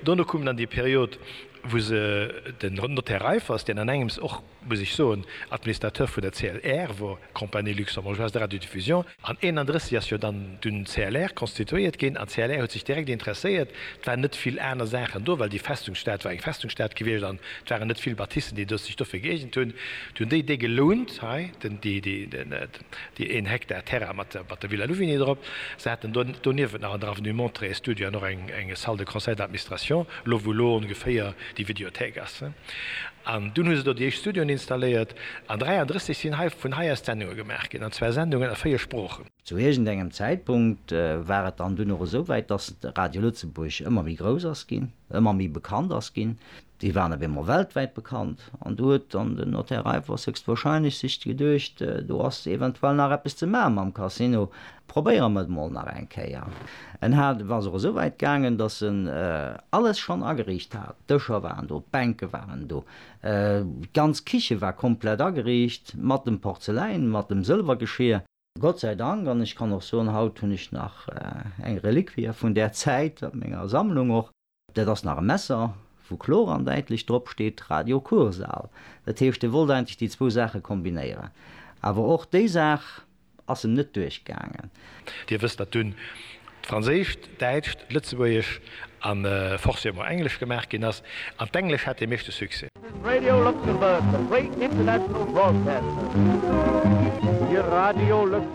Dono koum dann déi Period, wou se den Notaire Reiffers, deen an engems och, muss ech soen, Administrateur vun der CLR wor, Compagnie Luxembourgeoise de Radiodiffusion, an 31 ass jo dann dunn d'CLR konstituéiert ginn, an d'CLR huet sech direkt interesséiert, et waren net vill aner Saachen do, well déi Festungsstad war eng Festungsstad gewiescht an et waren net vill Bâtissen, déi do sech dofir gëeegent hunn. Du hunn déi déi gelount hei, den, déi, déi, den, déi een Hektar Terrain mat der, mat der Villa Louvigny drop. Se haten do doniewent nach an der Avenue Monterey e Studio an och eng, eng Salle de conseil d'administration, elo wou elo ongeféier déi Videothéik ass. An dunn hu se do déi éischt Studioen installéiert. An 33 sinn hei vun hei aus Sendunge gemaach ginn, an zwar Sendungen a 4 Sproochen. Zu iergendengem Zäitpunkt war et dann dunn och esou wäit, dass Radio Lëtzebuerg ëmmer méi grouss ass ginn, ëmmer méi bekannt ass ginn. Déi waren op eemol weltwäit bekannt. An do huet dann den Notaire Reiffers höchstwahrscheinlech sech geduecht, do ass eventuell nach eppes ze maache mam Casino, probéiere mer et mol nach eng Kéier. En hat, ass och esou wäit gaangen, datt en alles schonn ageriicht hat, d'Dëscher waren do, d'Bänke waren do, d'ganz Kiche war komplett ageriicht mat dem Porzeläin, mat dem Sëlwergeschier. Gott sei Dank, an ech kann och soen, haut hunn ech nach eng Reliquie vun där Zäit a menger Sammlung och. Dat ass nach e Messer, wou kloer an däitlech drop steet, Radio Kursaal. Dat heescht, e wollt eigentlech déi zwou Saache kombinéieren. Awer och déi Saach ass em net duerchgaangen. Dir wësst, datt dunn d'Franséischt, d'Däitscht, d'Lëtzebuergesch a forcément Englesch gemaach ginn ass. An d'Englesch hat dee meeschte Succès. Radio Luxembourg, the great international broadcaster. Radio Luxembourg.